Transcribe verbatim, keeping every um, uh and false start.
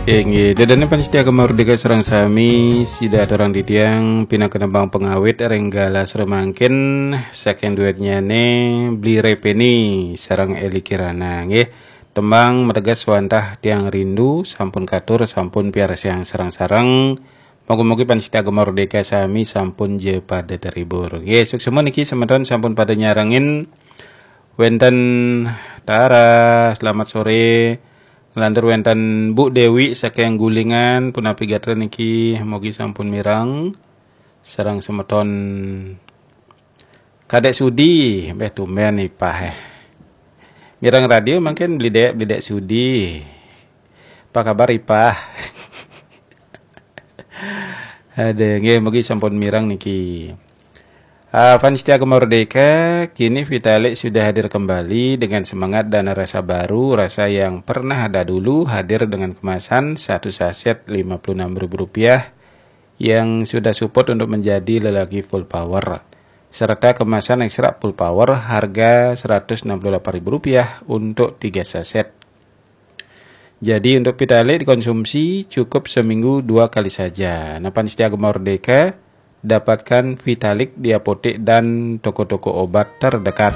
Inggih, ida dané pamiarsa Gema Merdeka sareng sami, sida aturang titiang pinaka nembang pangawit ring galah semangkin saking duetnyané Bli Repeni sareng Eli Kirana, nggih. Tembang mateges wantah tiang rindu sampun katur, sampun piarsayang sareng-sareng. Mugi-mugi pamiarsa Gema Merdeka sami sampun ja pada terhibur. Nggih, suksma niki semeton sampun pada nyarengin. Wénten Tara, selamat sore. Nglantur wénten Bu Dewi saking Gulingan, punapi gatra niki, mugi sampun mireng. Sareng semeton Kadek Sudi, béh tumben Ipah, eh. Mireng radio mangkin Bli Dek, Bli Dek Sudi. Apa kabar Ipah? Aduh, nggih, mugi sampun mireng niki. Ah, fans setia Gema Merdeka, kini Vitalik sudah hadir kembali dengan semangat dan rasa baru, rasa yang pernah ada dulu, hadir dengan kemasan satu saset lima puluh enam ribu rupiah yang sudah support untuk menjadi lelaki full power, serta kemasan ekstra full power harga seratus enam puluh delapan ribu rupiah untuk tiga saset. Jadi, untuk Vitalik dikonsumsi cukup seminggu dua kali saja. Nah, fans setia Gema Merdeka, dapatkan Vitalik di apotek dan toko-toko obat terdekat.